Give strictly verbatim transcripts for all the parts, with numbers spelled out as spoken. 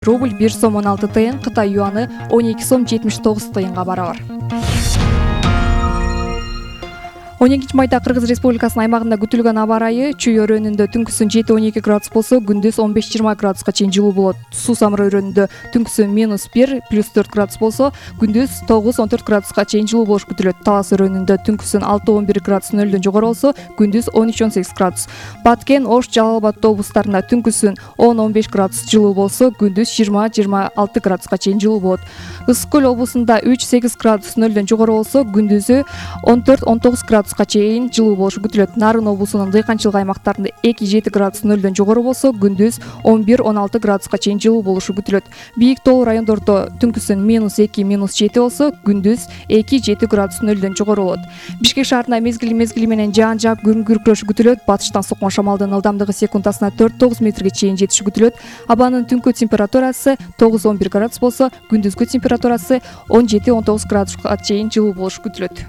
Рубль бир сом он алты тыйын, Кытай юаны он эки сом жетимиш тогуз тыйынга барабар. он экинчи майда Кыргыз Республикасынын аймагында күтүлгөн аба ырайы Чүй өрөөнүндө түнкүсүн жети он эки градус болсо, күндүз он беш жыйырма градуска чейин жылуу болот. Суу Самыр өрөөнүндө түнкүсүн минус бир плюс төрт градус болсо, күндүз тогуз он төрт градуска чейин жылуу болуш күтүлөт. Талас өрөөнүндө түнкүсүн алты он бир градус нөлдөн жогору болсо, күндүз он үч он сегиз градус. Баткен, Ош, Жалал Абад облустарында түнкүсүн он он беш градус жылуу болсо, күндүз жыйырма жыйырма алты градуска чейин жылуу болот. Ысык көл облусунда үч сегиз градус нөлдөн жогору болсо, күндүзү он төрт он тогуз градус чейин жылуу болушу күтүлөт. Нарын облусунун дыйканчылык аймактарында эки жети градус нөлдөн жогору болсо, күндүз он бир он алты градуска чейин жылуу болушу күтүлөт. Бийик тоолуу райондордо түнкүсүн минус эки минус жети болсо, күндүз эки жети градус нөлдөн жогору болот. Бишкек шаарында мезгил мезгили менен жаан жаап күн күркүрөшү күтүлөт. Батыштан соккон шамалдын ылдамдыгы секундасына төрт тогуз метрге чейин жетиши күтүлөт. Абанын түнкү температурасы тогуз он бир градус болсо, күндүзгү температурасы он жети он тогуз градуска чейин жылуу болушу күтүлөт.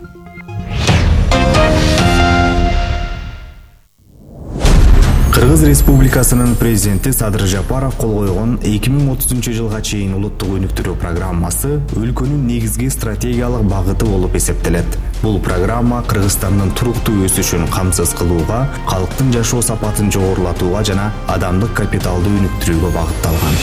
Кыргыз Республикасынын президенти Садыр Жапаров кол койгон эки миң отузунчу жылга чейин улуттук өнүктүрүү программасы өлкөнүн негизги стратегиялык багыты болуп эсептелет. Бул программа Кыргызстандын туруктуу өсүшүн камсыз кылууга, калктын жашоо сапатын жогорулатууга жана адамдык капиталды өнүктүрүүгө багытталган.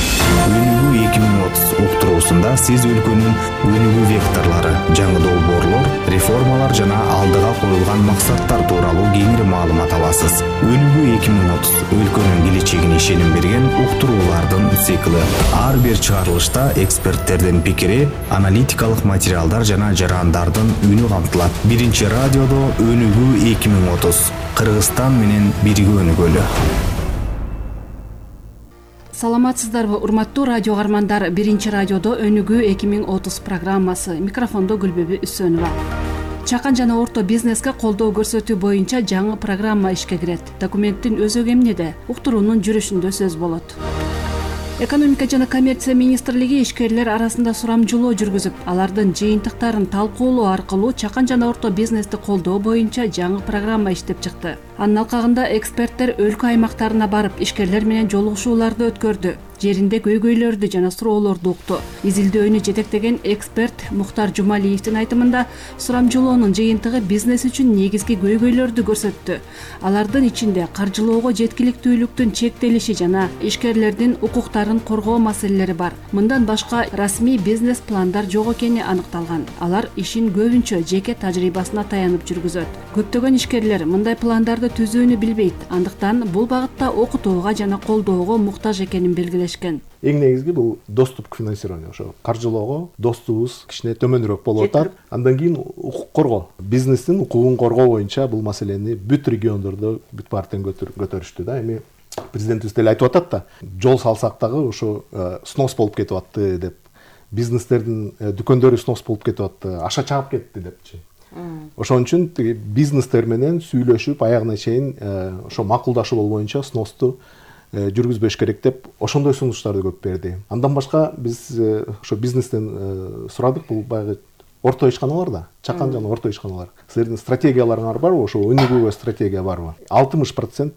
Өнүгүү эки миң отуз уктуруусунда сиз өлкөнүн өнүгүү векторлору, жаңы долбоорлор, реформалар жана алдыга коюлган максаттар тууралуу кеңири маалымат аласыз. Өнүгүү эки миң отуз өлкөнүн келечегине ишеним берген уктуруулардын циклы. Ар бир чыгарылышта эксперттердин пикири, аналитикалык материалдар жана жарандардын үнү камтылат. Биринчи радиодо Өнүгүү эки миң отуз. Кыргызстан менен бирге өнүгөлү. Саламатсыздарбы, урматтуу радио каармандар. Биринчи радиодо Өнүгүү эки миң отуз программасы. Микрофондо Гүлбөбү Үсөнова. Чакан жана орто бизнеске колдоо көрсөтүү боюнча жаңы программа ишке кирет. Документтин өзөгү эмнеде? Уктуруунун жүрүшүндө сөз болот. Экономика жана коммерция министрлиги ишкерлер арасында сурамжылоо жүргүзүп, алардын жыйынтыктарын талкуулоо аркылуу чакан жана орто бизнести колдоо боюнча жаңы программа иштеп чыкты. Анын алкагында эксперттер өлкө аймактарына барып, ишкерлер менен жолугушууларды өткөрдү. Жеринде көйгөйлөрдү жана суроолорду укту. Изилдөөнү жетектеген эксперт Мухтар Жумалиевдин айтымында, сурамжылоонун жыйынтыгы бизнес үчүн негизги көйгөйлөрдү көрсөттү. Алардын ичинде каржылоого жеткиликтүүлүктүн чектелиши жана ишкерлердин укуктарын коргоо маселелери бар. Мындан башка расмий бизнес пландар жок экени аныкталган. Алар ишин көбүнчө жеке тажрыйбасына таянып жүргүзөт. Көптөгөн ишкерлер мындай пландарды түзүүнү билбейт. Андыктан бул багытта окутууга жана колдоого муктаж экенин белгилешкен. Эң негизги бул доступ к финансированию. Ошо каржылоого доступубуз кичине төмөнүрөөк болуп атат. Андан кийин укук коргоо, бизнестин укугун коргоо боюнча бул маселени бүт региондордо бүт партиян көтөрүштү да. Эми президентибиз деле айтып атат да, жол салсак дагы ошо снос болуп кетип атты деп, бизнестердин дүкөндөрү снос болуп кетип атты, аша чагып кетти депчи. Ошон үчүн тиги бизнестер менен сүйлөшүп аягына чейин ошо макулдашуу боюнча сносту жүргүзбөш керек деп ошондой сунуштарды көп берди. Андан башка биз ошо бизнестен сурадык, бул баягы орто ишканалар да, чакан жана орто ишканалар. Силердин стратегияларыңар барбы, ошо өнүгүүгө стратегия барбы? алтымыш процент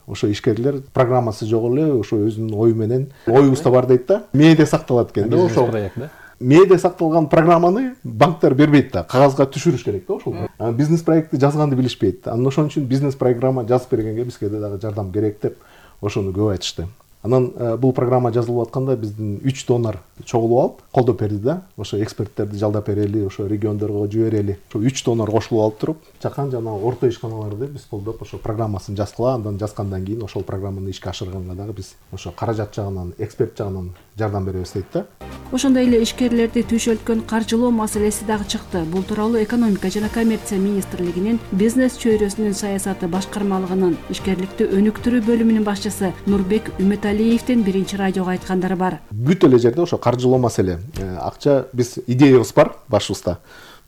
ошо ишкерлер программасы жок эле, ошо өзүнүн ою менен, оюбузда бар дейт да, мээде сакталат экен да, ошо проект да. Мээде сакталган программаны банктар бербейт да, кагазга түшүрүш керек да ошол. Бизнес проектти жазганды билишпейт. Анан ошон үчүн бизнес программа жазып бергенге бизге дагы жардам керек деп ошону көп айтышты. Анан бул программа жазылып атканда биздин үч донор чогулуп алып колдоп берди да. Ошо эксперттерди жалдап берели, ошо региондорго жиберели. Ошо үч донор кошулуп алып туруп, чакан жана орто ишканаларды биз колдоп ошо программасын жазгыла, андан жазгандан кийин ошол программаны ишке ашырганга дагы биз ошо каражат жагынан, эксперт жагынан жардам беребиз дейт да. Ошондой эле ишкерлерди түйшөлткөн каржылоо маселеси дагы чыкты. Бул тууралуу экономика жана коммерция министрлигинин бизнес чөйрөсүнүн саясаты башкармалыгынын ишкерликти өнүктүрүү бөлүмүнүн башчысы Нурбек Үмөталиевдин биринчи радиого айткандары бар. Бүт эле жерде ошо каржылоо маселе. Акча биз идеябыз бар башыбызда.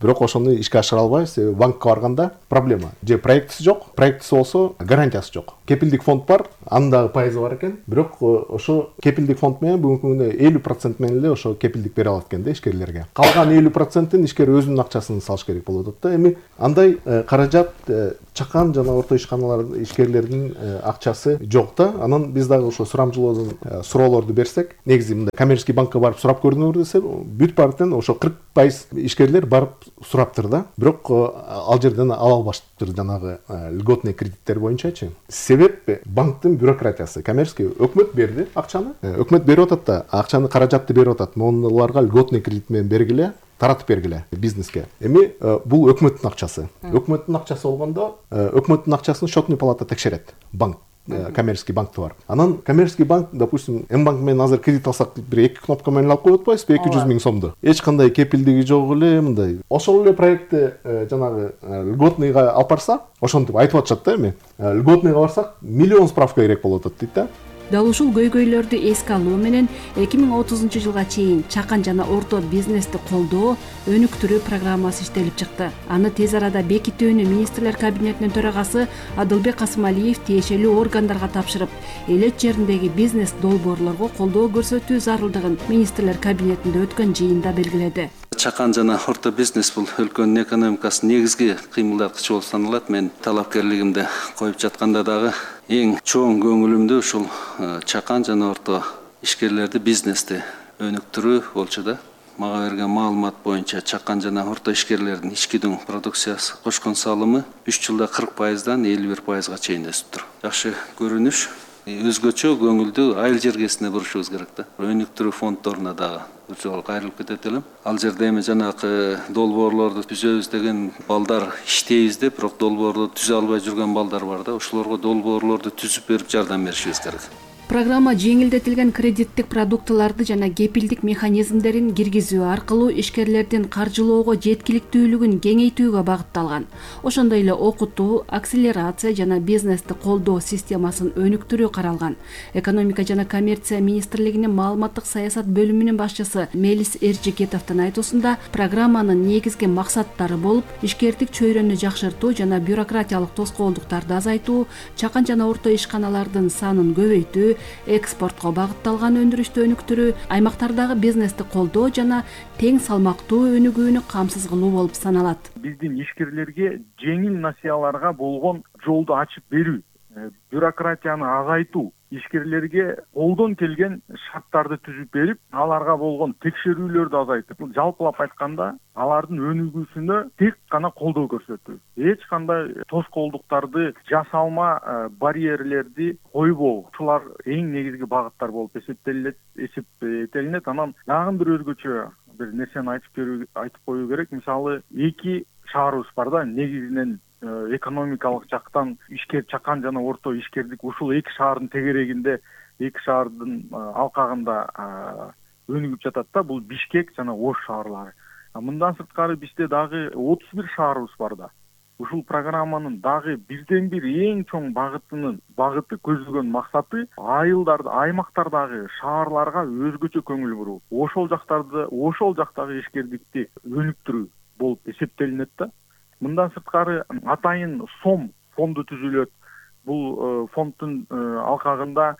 Бирок ошону ишке ашыра албайбыз. Банкка барганда проблема. Же проектиси жок, проектиси болсо гарантиясы жок. Кепилдик фонд бар, анын дагы пайызы бар экен. Бирок ошо кепилдик фонд менен бүгүнкү күндө элүү процент менен эле ошо кепилдик бере алат экен да ишкерлерге. Калган элүү процентин ишкер өзүнүн акчасын салыш керек болуп атат да. Эми андай каражат чакан жана орто ишканалардын ишкерлердин акчасы жок да. Анан биз дагы ошо сурамчылоодон суроолорду берсек, негизи мындай коммерческий банкка барып сурап көрдүңөр десе, бүт парктен ошо кырк пайыз ишкерлер барып сураптыр да. Бирок ал жерден ала албаштыр жанагы льготный кредиттер боюнчачы. Себеп банктын бюрократиясы. Коммерческий өкмөт берди акчаны. Өкмөт берип атат да, акчаны каражатты берип атат. Монуларга льготный кредит менен бергиле, таратып бергиле бизнеске. Эми бул өкмөттүн акчасы. Өкмөттүн акчасы болгондо, өкмөттүн акчасын счетный палата текшерет. Банк, коммерческий банкты бар. Анан коммерческий банк, допустим, М-банк менен азыр кредит алсак, бир эки кнопка менен алып коюп атпайбызбы, эки жүз миң сомду. Эч кандай кепилдиги жок эле, мындай. Ошол эле проектти жанагы льготныйга алып барса, ошентип айтып атышат да эми. Льготныйга барсак, миллион справка керек болуп атат дейт да. Дал ушул көйгөйлөрдү эске алуу менен эки миң отузунчу жылга чейин чакан жана орто бизнести колдоо, өнүктүрүү программасы иштелип чыкты. Аны тез арада бекитүүнү министрлер кабинетинин төрагасы Адылбек Касымалиев тиешелүү органдарга тапшырып, элет жериндеги бизнес долбоорлорго колдоо көрсөтүү зарылдыгын министрлер кабинетинде өткөн жыйында белгиледи. Чакан жана орто бизнес бул өлкөнүн экономикасынын негизги кыймылдаткычы болуп саналат. Мен талапкерлигимди коюп жатканда дагы эң чоң көңүлүмдү ушул чакан жана орто ишкерлерди, бизнести өнүктүрүү болчу да. Мага берген маалымат боюнча чакан жана орто ишкерлердин ички дүң продукциясы кошкон салымы үч жылда кырк пайыздан элүү бир пайызга чейин өсүптүр. Жакшы көрүнүш. Өзгөчө көңүлдү айыл жергесине бурушубуз керек да. Өнүктүрүү фонддоруна дагы бир жолу кайрылып кетет элем. Ал жерде эми жанагы долбоорлорду түзөбүз деген балдар иштейбиз деп, бирок долбоорду түзө албай жүргөн балдар бар да. Ошолорго долбоорлорду түзүп берип жардам беришибиз керек. Программа жеңилдетилген кредиттик продуктыларды жана кепилдик механизмдерин киргизүү аркылуу ишкерлердин каржылоого жеткиликтүүлүгүн кеңейтүүгө багытталган. Ошондой эле окутуу, акселерация жана бизнести колдоо системасын өнүктүрүү каралган. Экономика жана коммерция министрлигинин маалыматтык саясат бөлүмүнүн башчысы Мелис Эржикетовдун айтуусунда, программанын негизги максаттары болуп, ишкердик чөйрөнү жакшыртуу жана бюрократиялык тоскоолдуктарды азайтуу, чакан жана орто ишканалардын санын көбөйтүү, экспортко багытталган өндүрүштү өнүктүрүү, аймактардагы бизнести колдоо жана тең салмактуу өнүгүүнү камсыз кылуу болуп саналат. Биздин ишкерлерге жеңил насыяларга болгон жолду ачып берүү, бюрократияны азайтуу, ишкерлерге колдон келген шарттарды түзүп берип, аларга болгон текшерүүлөрдү азайтып, жалпылап айтканда, алардын өнүгүүсүнө тек гана колдоо көрсөтүү. Эч кандай тоскоолдуктарды, жасалма барьерлерди койбоо. Ушулар эң негизги багыттар болуп эсептелет, эсептелинет. Анан дагы бир өзгөчө бир нерсени айтып берүү, айтып коюу керек. Мисалы, эки шаарыбыз бар да, негизинен экономикалык жактан ишкер чакан жана орто ишкердик ушул эки шаардын тегерегинде, эки шаардын алкагында өнүгүп жатат да, бул Бишкек жана Ош шаарлары. Мындан сырткары бизде дагы отуз бир шаарыбыз бар да. Ушул программанын дагы бирден бир эң чоң багытынын багыты көздөгөн максаты айылдарды, аймактардагы шаарларга өзгөчө көңүл буруу. Ошол жактарды, ошол жактагы ишкердикти өнүктүрүү болуп эсептелинет да. Мындан сырткары атайын сом фонду түзүлөт. Бул фонддун алкагында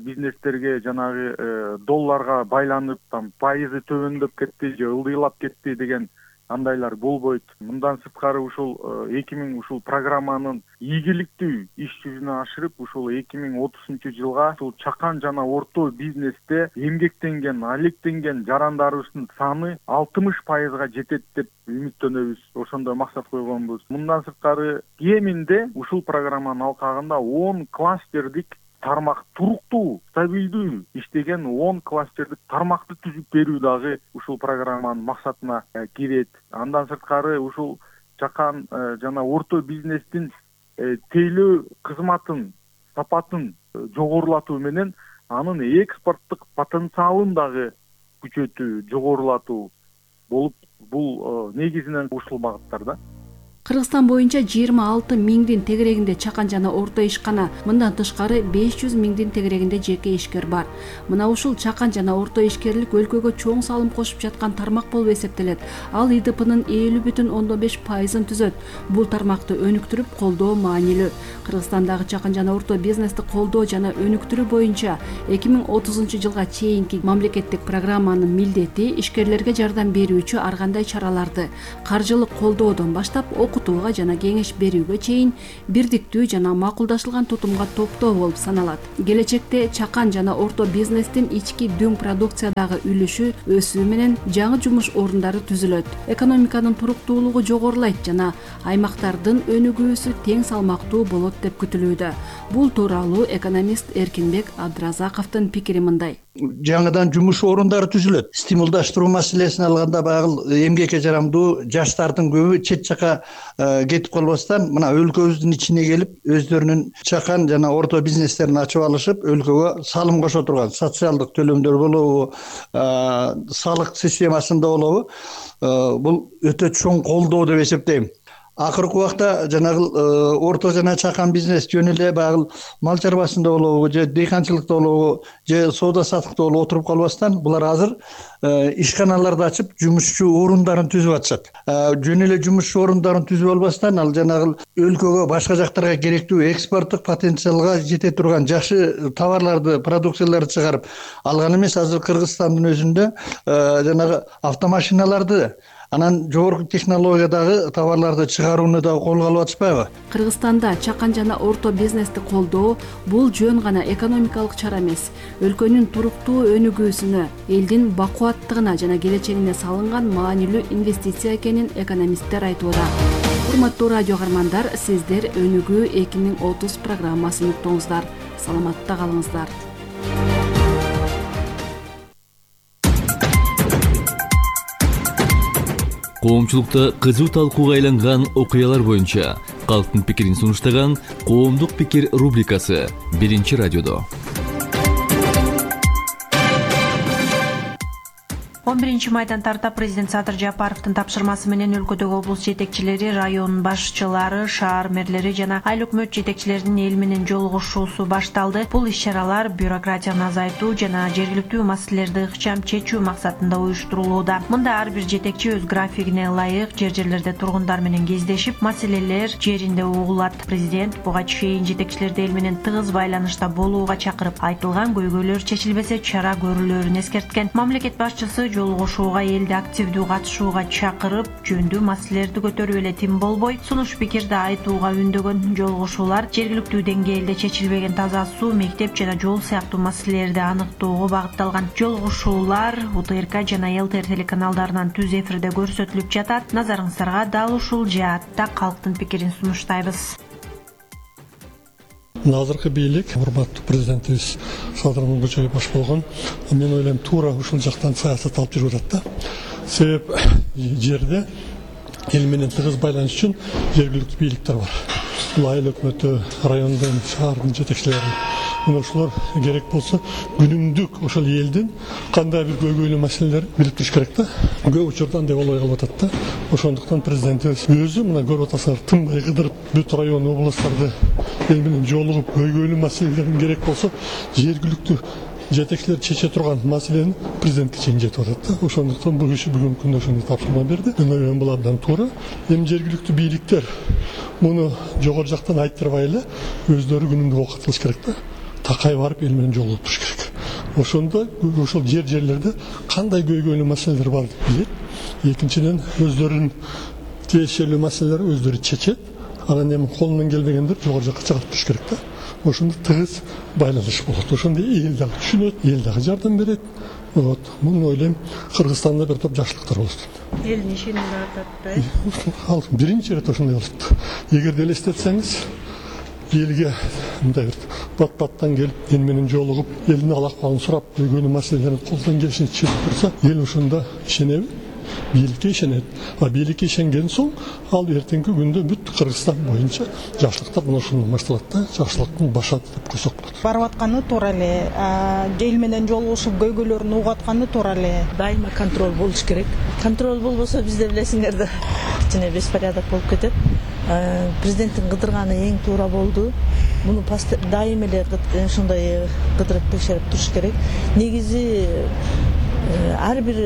бизнестерге жанагы долларга байланып, там пайызы төмөндөп кетти же ылдыйлап кетти деген андайлар болбойт. Мындан сырткары ушул эки миң ушул программанын ийгиликтүү иш жүзүнө ашырып, ушул эки миң отузунчу жылга ушул чакан жана орто бизнесте эмгектенген, алектенген жарандарыбыздын саны алтымыш пайызга жетет деп үмүттөнөбүз. Ошондой максат койгонбуз. Мындан сырткары кеминде ушул программанын алкагында он кластердик тармак, туруктуу, стабилдүү иштеген он кластердик тармакты түзүп берүү дагы ушул программанын максатына кирет. Андан сырткары ушул чакан жана орто бизнестин тейлөө кызматын, сапатын жогорулатуу менен анын экспорттук потенциалын дагы күчөтүү, жогорулатуу болуп, бул негизинен ушул багыттарда. Кыргызстан боюнча жыйырма алты миңдин тегерегинде чакан жана орто ишкана, мындан тышкары беш жүз миңдин тегерегинде жеке ишкер бар. Мына ушул чакан жана орто ишкерлик өлкөгө чоң салым кошуп жаткан тармак болуп эсептелет. Ал и ди пинин элүү бүтүн ондон беш пайызын түзөт. Бул тармакты өнүктүрүп колдоо маанилүү. Кыргызстандагы чакан жана орто бизнести колдоо жана өнүктүрүү боюнча эки миң отузунчу жылга чейинки мамлекеттик программанын милдети ишкерлерге жардам берүүчү ар кандай чараларды, каржылык колдоодон баштап окутууга жана кеңеш берүүгө чейин бирдиктүү жана макулдашылган тутумга топтоо болуп саналат. Келечекте чакан жана орто бизнестин ички дүң продукциядагы үлүшү өсүү менен жаңы жумуш орундары түзүлөт, экономиканын туруктуулугу жогорулайт жана аймактардын өнүгүүсү тең салмактуу болот деп күтүлүүдө. Бул тууралуу экономист Эркинбек Абдыразаковдун пикири мындай. Жаңыдан жумуш орундары түзүлөт. Стимулдаштыруу маселесин алганда баягы эмгекке жарамдуу жаштардын көбү чет жака кетип калбастан мына өлкөбүздүн ичине келип өздөрүнүн чакан жана орто бизнестерин ачып алышып, өлкөгө салым кошо турган социалдык төлөмдөр болобу, салык системасында болобу, бул өтө чоң колдоо деп эсептейм. Акыркы убакта жанагы орто жана чакан бизнес жөн эле баягы мал чарбасында болобу, же дыйканчылыкта болобу, же соода саттыкта болобу отуруп калбастан булар азыр ишканаларды ачып жумушчу орундарын түзүп атышат. Жөн эле жумушчу орундарын түзүп албастан ал жанагы өлкөгө башка жактарга керектүү экспорттук потенциалга жете турган жакшы товарларды, продукцияларды чыгарып алган эмес. Азыр Кыргызстандын өзүндө жанагы автомашиналарды, анан жогорку технологиядагы товарларды чыгарууну да колго алып атышпайбы? Кыргызстанда чакан жана орто бизнести колдоо бул жөн гана экономикалык чара эмес, өлкөнүн туруктуу өнүгүүсүнө, элдин бакубаттыгына жана келечегине салынган маанилүү инвестиция экенин экономисттер айтууда. Урматтуу радио каармандар, сиздер Өнүгүү эки миң отуз программасын уктуңуздар. Саламатта калыңыздар. Коомчулукта кызуу талкууга айланган окуялар боюнча калктын пикирин сунуштаган Коомдук пикир рубрикасы Биринчи радиодо. он биринчи майдан тарта президент Садыр Жапаровдун тапшырмасы менен өлкөдөгү облус жетекчилери, район башчылары, шаар мэрлери жана айыл өкмөт жетекчилеринин эл менен жолугушуусу башталды. Бул иш-чаралар бюрократияны азайтуу жана жергиликтүү маселелерди ыкчам чечүү максатында уюштурулууда. Мында ар бир жетекчи өз графигине ылайык жер-жерлерде тургундар менен кездешип, маселелер жеринде угулат. Президент буга чейин жетекчилерди эл менен тыгыз байланышта болууга чакырып, айтылган көйгөйлөр чечилбесе чара көрүлөрүн эскерткен. Мамлекет башчысы жолугушууга элди активдүү катышууга чакырып, жөндүү маселелерди көтөрүп эле тим болбой, сунуш пикирди айтууга үндөгөн. Жолугушуулар жергиликтүү деңгээлде чечилбеген таза суу, мектеп жана жол сыяктуу маселелерди аныктоого багытталган. Жолугушуулар У Т Р К жана Л Т Р телеканалдарынан түз эфирде көрсөтүлүп жатат. Назарыңыздарга дал ушул жаатта калктын пикирин сунуштайбыз. Азыркы бийлик урматтуу президентибиз Садыр Мырзакулов баш болгон, мен ойлойм туура ушул жактан саясат алып жүрүп атат да. Себеп жерде эл менен тыгыз байланыш үчүн жергиликтүү бийликтер бар. Бул айыл өкмөтү, райондун, шаардын жетекчилери. Мына ушулар керек болсо күнүмдүк ошол элдин кандай бир көйгөйлүү маселелерин билип туруш керек да. Көп учурда андай болбой калып атат да. Ошондуктан президентибиз өзү мына көрүп атасыңар, тынбай кыдырып бүт район, областтарды эл менен жолугуп көйгөйлүү маселелерин керек болсо жергиликтүү жетекчилер чече турган маселени президентке чейин жетип атат да. Ошондуктан бул киши бүгүнкү күндө ошондой тапшырма берди. Мен ойлойм бул абдан туура. Эми жергиликтүү бийликтер муну жогору жактан айттырбай эле өздөрү күнүмдүк окуп кылыш керек да. Такай барып эл менен жолугуп туруш керек. Ошондо ошол жер-жерлерде кандай көйгөйлүү маселелер бар деп билет. Экинчиден өздөрүнүн тиешелүү маселелери өздөрү чечет. Анан эми колунан келбегендер жогору жакка чыгарып туруш керек да. Ошондо тыгыз байланыш болот. Ошондо эл дагы түшүнөт, эл дагы жардам берет. Вот, муну ойлойм, Кыргызстанда бир топ жакшылыктар болот. Элдин ишин артат да. Ал биринчи ирет ошондой болот. Эгерде элестетсеңиз, элге мындай бир бат-баттан келип, эл менен жолугуп, элдин ал-акыбалын сурап, көйгөйлүү маселелерин колдон келишинче чечип турса, эл ошондо ишенеби? Бийликке ишенет. А бийликке ишенген соң, ал эртеңки күндө бүт Кыргызстан боюнча жакшылыктар мына ушундан башталат да, жакшылыктын башаты деп койсок болот. Барып атканы туура эле, эл менен жолугушуп көйгөйлөрүн угуп атканы туура эле. Дайыма контроль болуш керек. Контроль болбосо бизде билесиңер да кичине беспорядок болуп кетет. Президенттин кыдырганы эң туура болду. Муну дайым эле ушундай кыдырып текшерип туруш керек. Негизи ар бир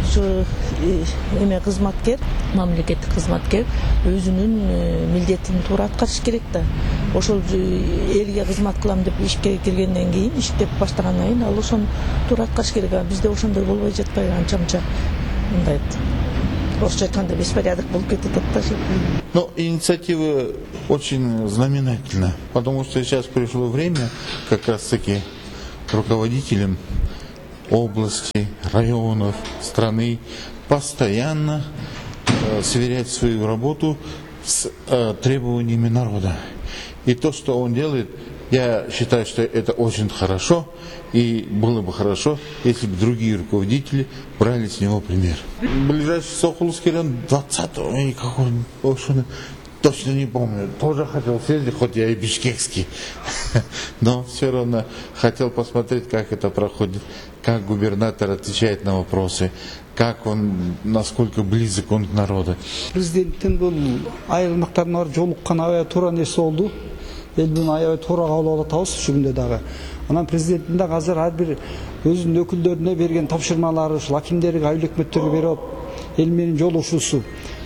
ушу эме кызматкер, мамлекеттик кызматкер өзүнүн милдетин туура аткарыш керек да. Ошол элге кызмат кылам деп ишке киргенден кийин, иштеп баштагандан кийин ал ошону туура аткарыш керек. Бизде ошондой болбой жатпайбы, анча-мынча мындай орусча айтканда беспорядок болуп кетет да. Но инициатива очень знаменательна, потому что сейчас пришло время как раз-таки руководителям областей, районов, страны постоянно э, сверять свою работу с э, требованиями народа. И то, что он делает, я считаю, что это очень хорошо, и было бы хорошо, если бы другие руководители брали с него пример. Ближайший Сокулский район двадцатого, какой он, точно не помню, тоже хотел съездить, хоть я и бишкекский, но все равно хотел посмотреть, как это проходит, как губернатор отвечает на вопросы, как он, насколько близок он к народу. Президенттин бул айрымактарына барып жолуккан аябай туура нерсе болду. Эл буну аябай туура кабыл алып атабыз ушул күндө дагы. Анан президенттин дагы азыр ар бир өзүнүн өкүлдөрүнө берген тапшырмалары, ушул акимдерге, айыл өкмөттөргө берип, эл менен жолугушуусу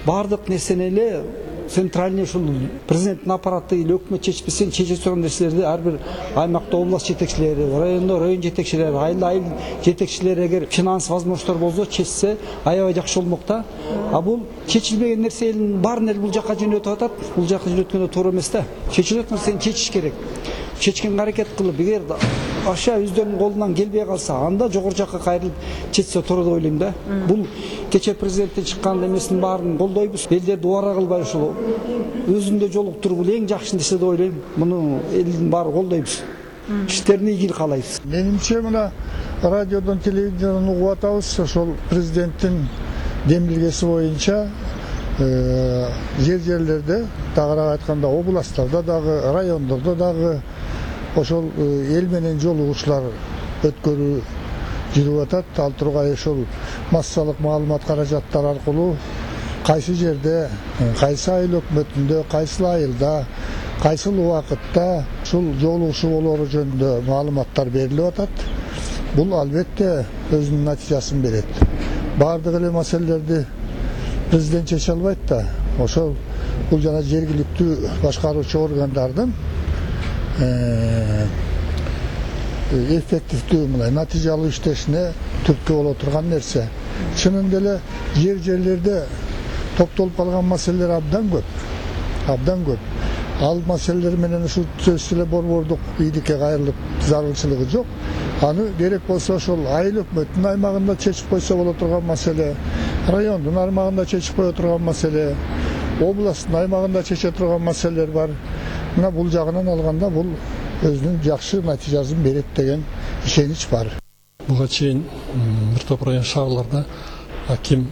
баардык нерсени эле центральный ушул президенттин аппараты или өкмөт чечпесен чече турган нерселерди ар бир аймакта область жетекчилери, райондо район жетекчилери, айыл айыл жетекчилери эгер финанс возможностьтор болсо чечсе аябай жакшы болмок да. А бул чечилбеген нерсе элдин баарын эл бул жака жөнөтүп атат. Бул жака жөнөткөндө туура эмес да. Чечилет нерсени чечиш керек. Чечкенге аракет кылып, эгер аша өздөрүнүн колунан келбей калса, анда жогору жакка кайрылып чечсе туура деп ойлойм да. Бул кече президенттен чыккан эмесинин баарын колдойбуз. Элдерди убара кылбай ушул өзүндө жолуктуруп бул эң жакшы нерсе деп ойлойм. Муну элдин баары колдойбуз. Иштерине ийгилик каалайбыз. Менимче мына радиодон, телевизордон угуп атабыз, ошол президенттин демилгеси боюнча жер жерлерде, тагыраак айтканда областтарда дагы, райондордо дагы ошол эл менен жолугушуулар өткөрүү жүрүп атат. Ал тургай ошол массалык маалымат каражаттары аркылуу кайсы жерде, кайсы айыл өкмөтүндө, кайсы айылда, кайсыл убакытта ушул жолугушуу болоору жөнүндө маалыматтар берилип атат. Бул албетте өзүнүн натыйжасын берет. Баардык эле маселелерди президент чече албайт да. Ошол бул жана жергиликтүү башкаруучу органдардын эффективдүү мындай натыйжалуу иштешине түрткү боло турган нерсе. Чынында эле жер жерлерде токтолуп калган маселелер абдан көп. Абдан көп. Ал маселелер менен ушул сөзсүз эле борбордук бийликке кайрылып зарылчылыгы жок. Аны керек болсо ошол айыл өкмөттүн аймагында чечип койсо боло турган маселе, райондун аймагында чечип кое турган маселе, областтын аймагында чече турган маселелер бар. Мына бул жагынан алганда бул өзүнүн жакшы натыйжасын берет деген ишенич бар. Буга чейин бир топ район шаарларда аким,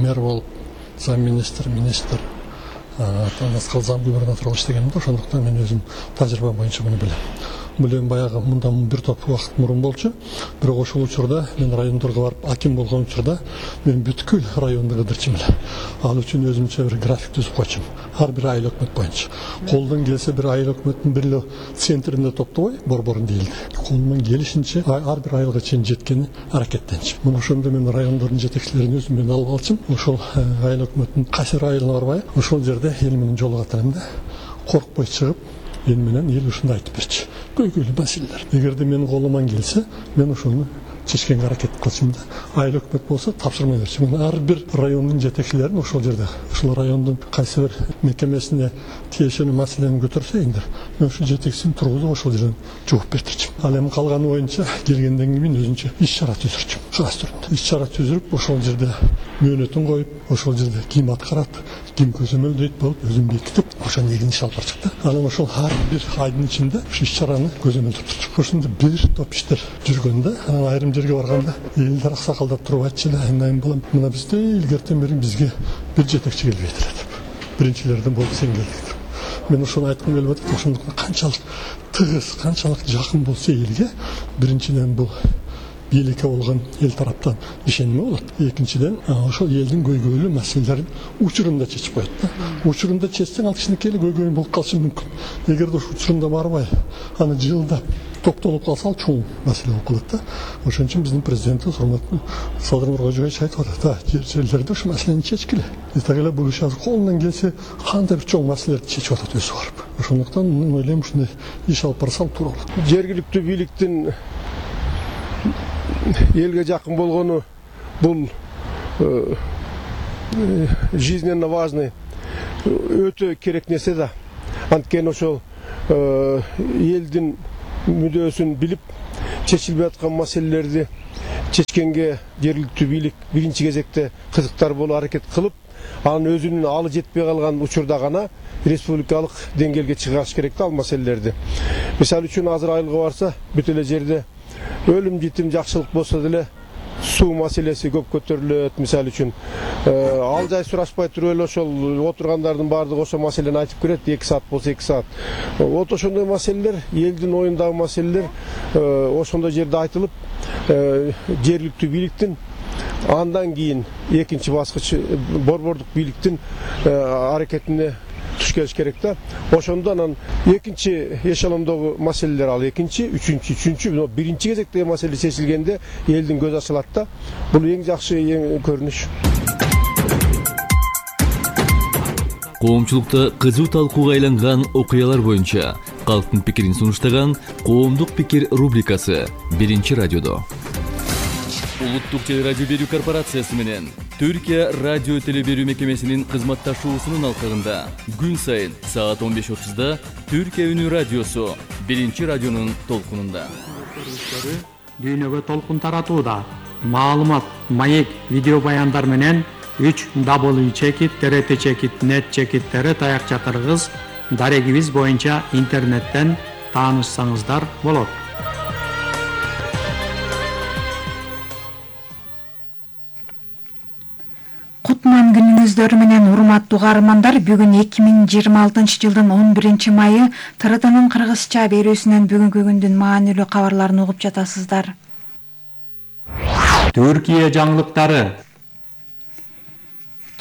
мэр болуп, замминистр, министр, аталган зам губернатор болуп иштегенмин да, ошондуктан мен өзүм тажрыйба боюнча муну билем. Бул эми баягы мындан бир топ убакыт мурун болчу. Бирок ошол учурда мен райондорго барып аким болгон учурда мен бүткүл районду кыдырчумун эле. Ал үчүн өзүмчө бир график түзүп койчумун. Ар бир айыл өкмөт боюнча. Колдон келсе бир айыл өкмөттүн бир эле центринде топтобой, борборун дейли. Колуман келишинче ар бир айылга чейин жеткени аракеттенчим. Мына ошондо мен райондордун жетекчилерин өзүм менен алып алчым. Ошол айыл өкмөттүн кайсы айылына барбай, ошол жерде эл менен жолугат элем да. Коркпой чыгып, эл менен эл ушундай айтып берчи. Көйгөйлүү маселелер. Эгерде менин колуман келсе, мен ошону чечкенге аракет кылчумун да. Айыл өкмөт болсо тапшырма берчүмүн. Ар бир райондун жетекчилерин ошол жерде, ошол райондун кайсы бир мекемесине тиешелүү маселени көтөрсөйүңдөр, мен ушул жетекчисин тургузуп ошол жерден жооп бердирчүмүн. Ал эми калганы боюнча келгенден кийин өзүнчө иш чара түзүрчүмүн. Ушул түрүндө иш чара түзүрүп, ошол жерде мөөнөтүн коюп, ошол жерде ким аткарат, ким көзөмөлдөйт болуп, өзүн бекитип, ошол негизин иш алып барчык да. Анан ошол ар бир айдын ичинде ушул иш чараны көзөмөлдөп турчук. Ошондо бир топ иштер жүргөндө, анан айрым жерге барганда элдер аксакалдар туруп айтчу эле, айнайын балам, мына бизде илгертен бери бизге бир жетекчи келбейт эле деп. Биринчилерден болуп сен келдиң деп. Мен ошону айткым келип атат. Ошондуктан канчалык тыгыз, канчалык жакын болсо элге, биринчиден бул бийликке болгон эл тараптан ишеними болот. Экинчиден ошол элдин көйгөйлүү маселелерин учурунда чечип коет да. Учурунда чечсең ал кичинекей эле көйгөй болуп калышы мүмкүн. Эгерде ошол учурунда барбай, аны жылдап токтолуп калса ал чоң маселе болуп калат да. Ошон үчүн биздин президентибиз урматтуу Садыр Нуркожоевич айтып атат, да, жер жерлерде ушул маселени чечкиле. Так эле бул иш азыр колунан келсе кандай бир чоң маселелерди чечип атат өзү барып. Ошондуктан мен ойлойм ушундай иш алып барсам туура болот. Жергиликтүү бийликтин элге жакын болгону бул жизненно важный, өтө керек нерсе да. Анткени ошол элдин мүдөөсүн билип, чечилбей аткан маселелерди чечкенге жергиликтүү бийлик биринчи кезекте кызыктар болуп аракет кылып, анын өзүнүн алы жетпей калган учурда гана республикалык деңгээлге чыгарыш керек да ал маселелерди. Мисалы үчүн азыр айылга барса, бүт эле жерде өлүм житим жакшылык болсо деле суу маселеси көп көтөрүлөт. Мисалы үчүн ал жай сурашпай туруп эле ошол отургандардын баардыгы ошол маселени айтып кирет, эки саат болсо эки саат. Вот ошондой маселелер, элдин оюндагы маселелер ошондой жерде айтылып, жергиликтүү бийликтин андан кийин экинчи баскыч борбордук бийликтин аракетине туш келиш керек да. Ошондо анан экинчи эшелондогу маселелер ал экинчи, үчүнчү, үчүнчү, биринчи кезектеги маселе чечилгенде элдин көзү ачылат да. Бул эң жакшы эң көрүнүш. Коомчулукта кызуу талкууга айланган окуялар боюнча калктын пикирин сунуштаган Коомдук пикир рубрикасы биринчи радиодо. Улуттук телерадио берүү корпорациясы менен Түркия радио теле берүү мекемесинин кызматташуусунун алкагында күн сайын саат он беш отузда Түркия үнү радиосу биринчи радионун толкунунда. Дүйнөгө толкун таратууда. Маалымат, маек, видео баяндар менен үч дабл ю чекит т т чекит нет чекит таякча кыргыз дарегибиз боюнча интернеттен таанышсаңыздар болот. Кутман күнүңүздөр менен урматтуу каармандар, бүгүн эки миң жыйырма алтынчы жылдын он биринчи майы Т R T'нын кыргызча берүүсүнөн бүгүнкү күндүн маанилүү кабарларын угуп жатасыздар. Түркия жаңылыктары.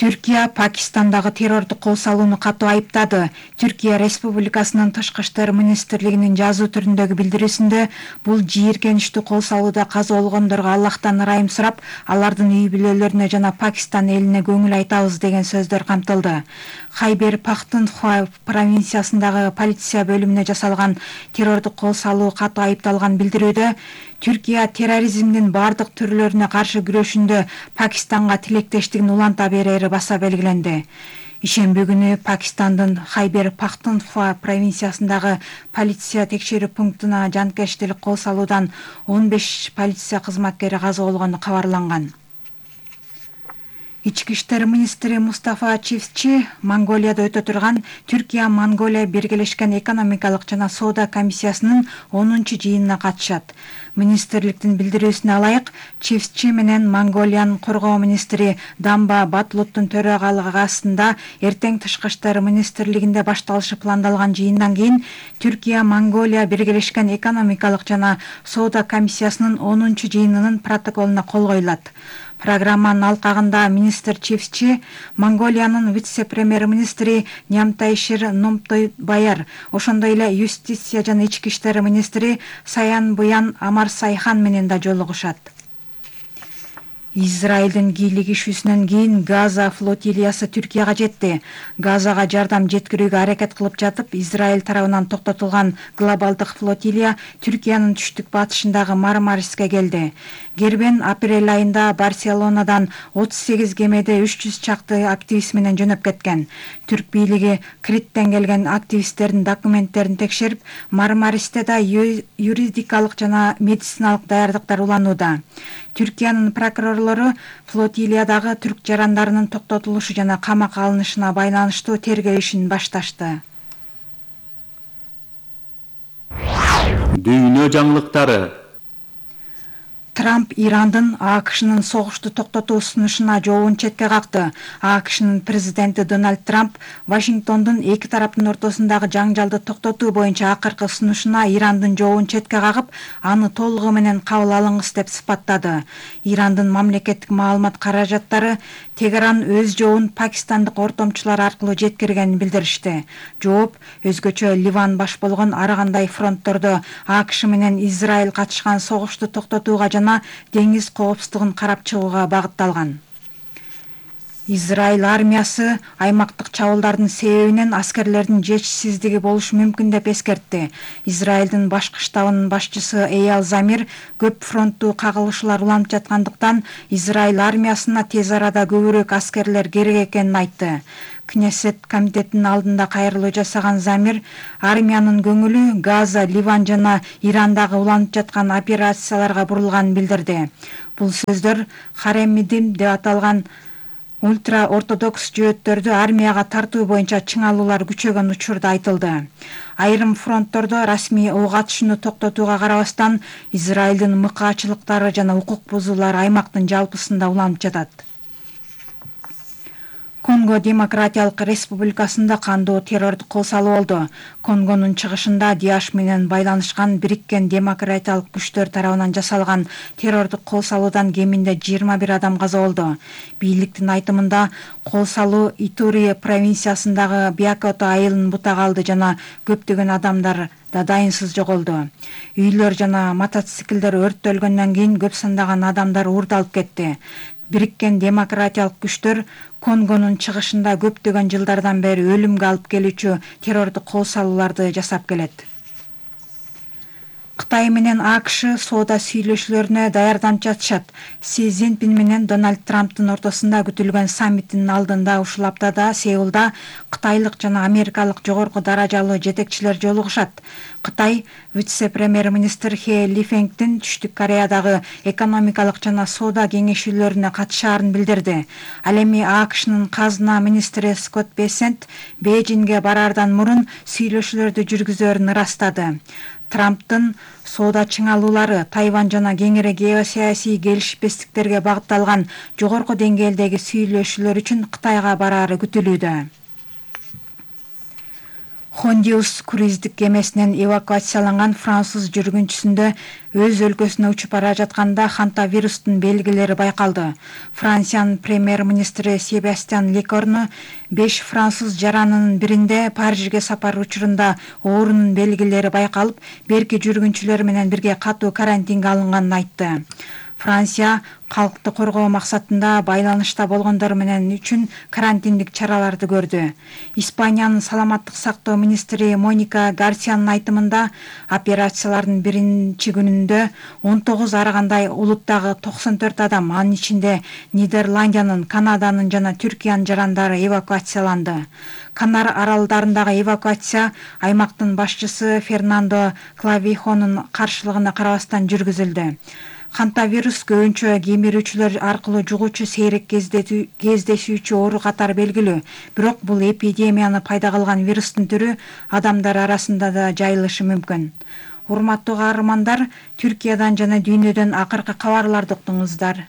Түркия Пакистандагы террордук кол салууну катуу айыптады. Түркия Республикасынын Тышкы иштер министрлигинин жазуу түрүндөгү билдирүүсүндө бул жийиркеничтүү кол салууда каза болгондорго Аллахтан ырайым сурап, алардын үй бүлөлөрүнө жана Пакистан элине көңүл айтабыз деген сөздөр камтылды. Хайбер Пахтунхва провинциясындагы полиция бөлүмүнө жасалган террордук кол салуу катуу айыпталган билдирүүдө Түркия терроризмдин бардык түрлөрүнө каршы күрөшүндө Пакистанга тилектештигин уланта берери баса белгиленди. Ишемби күнү Пакистандын Хайбер Пахтунхва провинциясындагы полиция текшерүү пунктуна жанкештик кол салуудан он беш полиция кызматкери каза болгону кабарланган. Ички иштер министри Мустафа Чивчи Монголияда өтө турган Түркия-Монголия биргелешкен экономикалык жана соода комиссиясынын онунчу жыйынына катышат. Министрликтин билдирүүсүнө алайык, Чивчи менен Монголиянын коргоо министри Дамба Батлуттун төрагалыгы астында эртең Тышкы иштер министрлигинде башталышы пландалган жыйындан кийин Түркия-Монголия биргелешкен экономикалык жана соода комиссиясынын онунчу жыйынынын протоколуна кол коюлат. Программанын алкагында министр Чивчи Монголиянын вице-премьер-министри Нямтайшир Номтойбаяр, ошондой эле юстиция жана ички иштер министри Саян Буян Амарсайхан менен да жолугушат. Израилдин кийлигишүүсүнөн кийин Газа флотилиясы Түркияга жетти. Газага жардам жеткирүүгө аракет кылып жатып, Израиль тарабынан токтотулган глобалдык флотилия Түркиянын түштүк батышындагы Мармариске келди. Гербен апрель айында Барселонадан отуз сегиз кемеде үч жүз чакты активист менен жөнөп кеткен. Түрк бийлиги Криттен келген активисттердин документтерин текшерип, Мармаристе да юридикалык жана медициналык даярдыктар уланууда. Түркиянын прокурорлору флотилиядагы түрк жарандарынын токтотулушу жана камакка алынышына байланыштуу тергөө ишин башташты. Дүйнө жаңылыктары. Трамп Ирандын АКШнын согушту токтотуу сунушуна жообун четке какты. АКШнын президенти Дональд Трамп Вашингтондун эки тараптын ортосундагы жаңжалды токтотуу боюнча акыркы сунушуна Ирандын жообун четке кагып, аны толугу менен кабыл алыңыз деп сыпаттады. Ирандын мамлекеттик маалымат каражаттары Тегеран өз жообун пакистандык ортомчулар аркылуу жеткиргенин билдиришти. Жооп өзгөчө Ливан баш болгон ар кандай фронттордо АКШ менен Израиль катышкан согушту токтотууга жана деңиз коопсуздугун карап чыгууга багытталган. Израиль армиясы аймактык чабуулдардын себебинен аскерлердин жетишсиздиги болушу мүмкүн деп эскертти. Израилдин башкы штабынын башчысы Эял Замир көп фронттуу кагылышуулар уланып жаткандыктан Израиль армиясына тез арада көбүрөөк аскерлер керек экенин айтты. Кнессет комитетинин алдында кайрылуу жасаган Замир армиянын көңүлү Газа, Ливан жана Ирандагы уланып жаткан операцияларга бурулганын билдирди. Бул сөздөр Харемидим деп аталган ультра ортодокс жөөттөрдү армияга тартуу боюнча чыңалуулар күчөгөн учурда айтылды. Айрым фронттордо расмий ок атышууну токтотууга карабастан Израилдин мыкаачылыктары жана укук бузуулар аймактын жалпысында уланып жатат. Конго Демократиялык Республикасында кандуу террордук кол салуу болду. Конгонун чыгышында Диаш менен байланышкан Бириккен демократиялык күчтөр тарабынан жасалган террордук кол салуудан кеминде жыйырма бир адам каза болду. Бийликтин айтымында кол салуу Итури провинциясындагы Биакото айылын бутага алды жана көптөгөн адамдар да дайынсыз жоголду. Үйлөр жана мотоциклдер өрттөлгөндөн кийин көп сандаган адамдар уурдалып кетти. Бириккен демократиялык күчтөр Конгонун чыгышында көптөгөн жылдардан бери өлүмгө алып келүүчү террордук кол салууларды жасап келет. Кытай менен АКШ соода сүйлөшүүлөрүнө даярданып жатышат. Си Цзиньпин менен Дональд Трамптын ортосунда күтүлгөн саммиттин алдында ушул аптада Сеулда кытайлык жана америкалык жогорку даражалуу жетекчилер жолугушат. Кытай вице-премьер-министр Хе Лифеңдин Түштүк Кореядагы экономикалык жана соода кеңешүүлөрүнө катышаарын билдирди. Ал эми АКШнын казына министри Скотт Бессент Бейжиңге бараардан мурун сүйлөшүүлөрдү жүргүзөрүн ырастады. Трамптын соода чыңалуулары Тайвань жана кеңири геосаясий келишпестиктерге багытталган жогорку деңгээлдеги сүйлөшүүлөр үчүн Кытайга бараары күтүлүүдө. Хондиус круиздик кемесинен эвакуацияланган француз жүргүнчүсүндө өз өлкөсүнө учуп бара жатканда хантавирустун белгилери байкалды. Франциянын премьер-министри Себастьян Лекорну беш француз жаранынын биринде Парижге сапар учурунда оорунун белгилери байкалып, берки жүргүнчүлөр менен бирге катуу карантинге алынганын айтты. Франция калкты коргоо максатында байланышта болгондор менен үчүн карантиндик чараларды көрдү. Испаниянын саламаттык сактоо министри Моника Гарсиянын айтымында операциялардын биринчи күнүндө он тогуз арагандай улуттагы токсон төрт адам, анын ичинде Нидерландиянын, Канаданын жана Түркиянын жарандары эвакуацияланды. Канар аралдарындагы эвакуация аймактын башчысы Фернандо Клавихонун каршылыгына карабастан жүргүзүлдү. Хантавирус көбүнчө кемирүүчүлөр аркылуу жугуучу сейрек кездешүүчү оору катары белгилүү. Бирок бул эпидемияны пайда кылган вирустун түрү адамдар арасында да жайылышы мүмкүн. Урматтуу каармандар, Түркиядан жана дүйнөдөн акыркы кабарларды уктуңуздар.